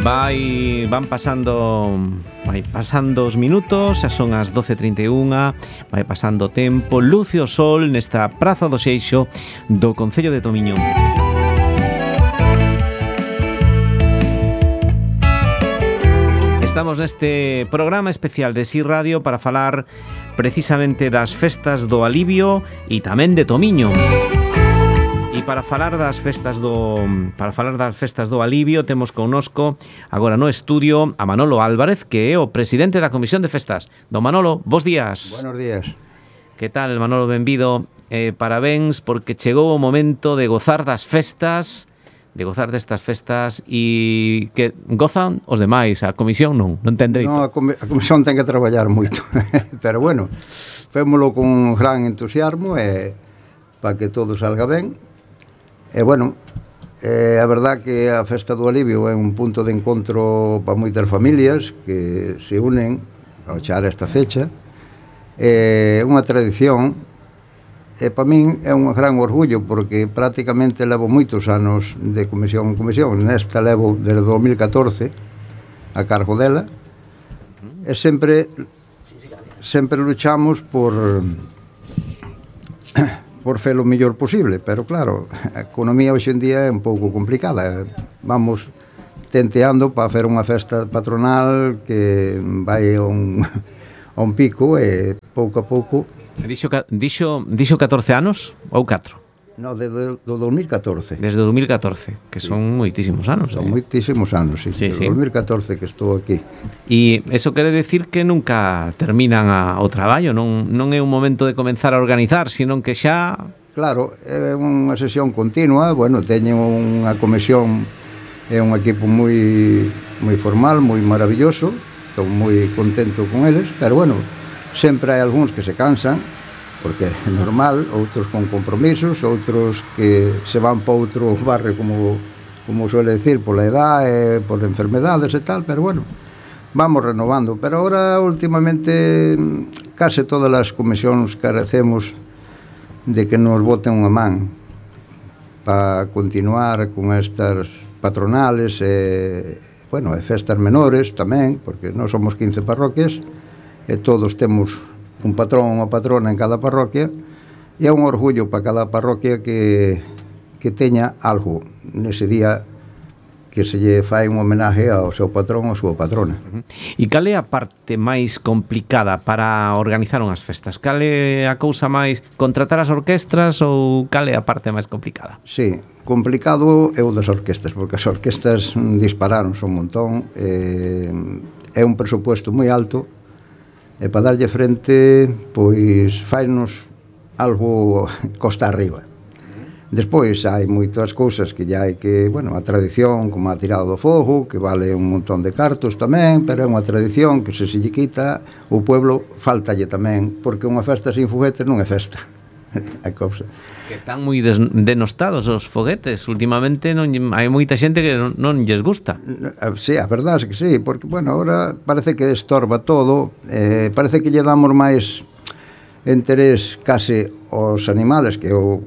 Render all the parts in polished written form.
Van pasando os minutos, xa son as 12:31, vai pasando o tempo, luce o sol nesta Praza do Seixo do Concello de Tomiño. Estamos neste programa especial de Si Radio para falar precisamente das festas do Alivio e tamén de Tomiño. E para falar das festas do Alivio temos connosco agora no estudio a Manolo Álvarez, que é o presidente da Comisión de Festas. Don Manolo, bos días. Buenos días. Que tal, Manolo? Benvido. Parabéns porque chegou o momento de gozar das festas, destas festas, e que gozan os demais, a Comisión non ten dereito. No, a Comisión ten que traballar moito, pero bueno, fémolo con gran entusiasmo para que todo salga ben. E bueno, a verdad que a Festa do Alivio é un punto de encontro para moitas familias que se unen ao char esta fecha. É unha tradición e para min é un gran orgullo porque prácticamente levo moitos anos de comisión en comisión. Nesta levo desde 2014 a cargo dela e sempre luchamos por fer o mellor posible, pero claro, a economía hoxe en día é un pouco complicada. Vamos tenteando para fer unha festa patronal que vai a un pico e pouco a pouco. Dixo 14 anos ou 4? No, do 2014. Desde 2014, que son moitísimos anos. Son moitísimos anos, sí. Desde 2014 que estou aquí. E eso quere decir que nunca terminan o traballo, non é un momento de comenzar a organizar, sino que xa... Claro, é unha sesión continua. Bueno, teño unha comisión, é un equipo moi formal, moi maravilloso. Estou moi contento con eles, pero bueno, sempre hai algúns que se cansan, porque é normal, outros con compromisos, outros que se van para outro barrio, como suele decir, pola edad, por enfermedades e tal, pero bueno, vamos renovando. Pero ahora, últimamente, case todas as comisións carecemos de que nos boten unha man para continuar con estas patronales e festas menores tamén, porque nós somos 15 parroquias e todos temos un patrón ou unha patrona en cada parroquia, e é un orgullo para cada parroquia que teña algo nese día que se lle fai un homenaje ao seu patrón ou a súa patrona. E cal é a parte máis complicada para organizar unhas festas? Cal é a cousa máis, contratar as orquestras, ou cal é a parte máis complicada? Sí, complicado é o das orquestas, porque as orquestas dispararon un montón, é un presupuesto moi alto, e para darlle frente, pois fainos algo costa arriba. Despois hai moitas cousas que ya hai que, a tradición, como a tirada do fogo, que vale un montón de cartos tamén, pero é unha tradición que se lle quita, o pueblo faltalle tamén, porque unha festa sin foguetes non é festa. A cousa. Que están moi denostados os foguetes. Últimamente hai moita xente que non lles gusta. Sí, a verdade é que sí, porque, agora parece que estorba todo, parece que lle damos máis interés case aos animales, que eu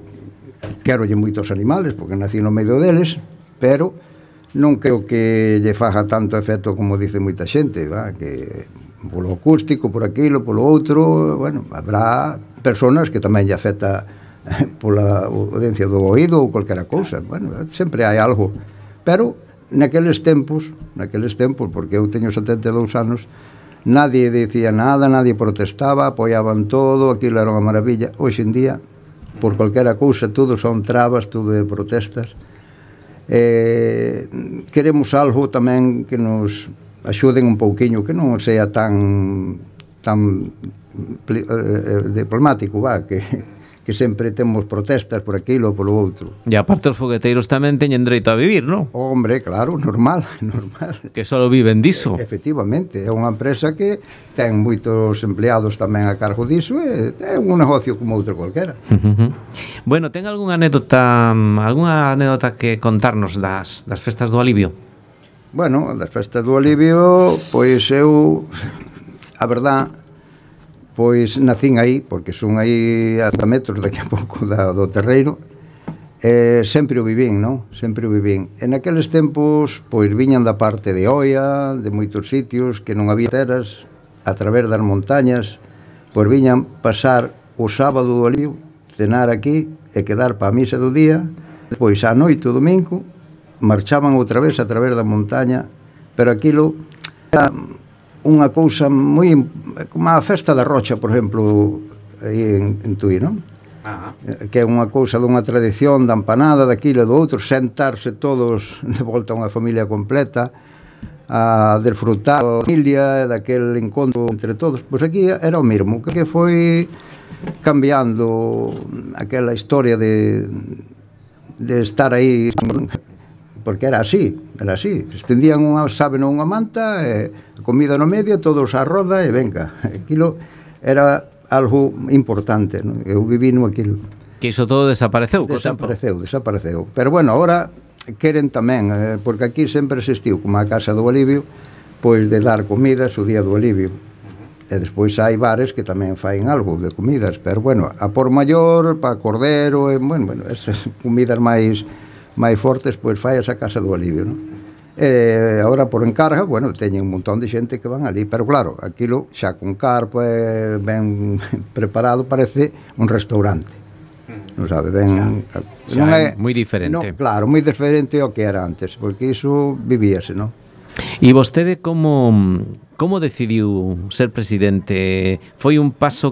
querolle moitos animales, porque nací no medio deles, pero non creo que lle faga tanto efecto como dice moita xente, que polo acústico, por aquilo, polo outro, habrá personas que tamén lle afecta pola audiencia do oído ou calquera cousa, sempre hai algo, pero naqueles tempos, porque eu teño 72 anos, nadie dicía nada, nadie protestaba, apoiaban todo, aquilo era unha maravilla. Hoxe en día, por calquera cousa, todo son trabas, todo é protestas. Queremos algo tamén que nos axuden un pouquiño, que non sea tan diplomático, que sempre temos protestas por aquilo ou polo outro. E aparte os fogueteiros tamén teñen dereito a vivir, non? Hombre, claro, normal. Que só viven diso. Efectivamente, é unha empresa que ten moitos empleados tamén a cargo diso, e é un negocio como outro cualquera. Bueno, ten algunha anécdota que contarnos das festas do Alivio? Bueno, das festas do Alivio, pois eu, a verdad, pois nacín aí, porque son aí a 100 metros daqui a pouco do terreiro, sempre o vivín, non? Sempre o vivín. En aqueles tempos, pois, viñan da parte de Oia, de moitos sitios, que non había teras, a través das montañas, pois viñan pasar o sábado do Alivio, cenar aquí e quedar pa a misa do día, depois á noite o domingo, marchaban outra vez a través da montaña, pero aquilo era unha cousa moi, como a festa da Rocha, por exemplo, aí en Tui, non? Que é unha cousa dunha tradición da empanada, daquilo e do outro, sentarse todos de volta a unha familia completa a desfrutar a familia, daquel encontro entre todos. Pois aquí era o mesmo, que foi cambiando aquela historia de estar aí, porque era así, estendían unha sábana, unha manta, a comida no medio, todos á roda e venga, aquilo era algo importante, non? Eu viví no aquilo. Que iso todo desapareceu co tempo. Desapareceu. Pero bueno, ahora queren tamén, porque aquí sempre existiu, como a Casa do Alivio, pois de dar comidas o día do Alivio. E despois hai bares que tamén faen algo de comidas, pero bueno, a por maior, pa cordero, bueno, esas comidas máis fortes, pois fai esa Casa do Alivio, non? E agora por encarga, bueno, teñen un montón de xente que van ali, pero claro, aquilo xa con carpa ben preparado, parece un restaurante, non sabe, ben xa non é moi diferente. Non, claro, moi diferente ao que era antes, porque iso vivíase, non? E vostede como decidiu ser presidente? Foi un paso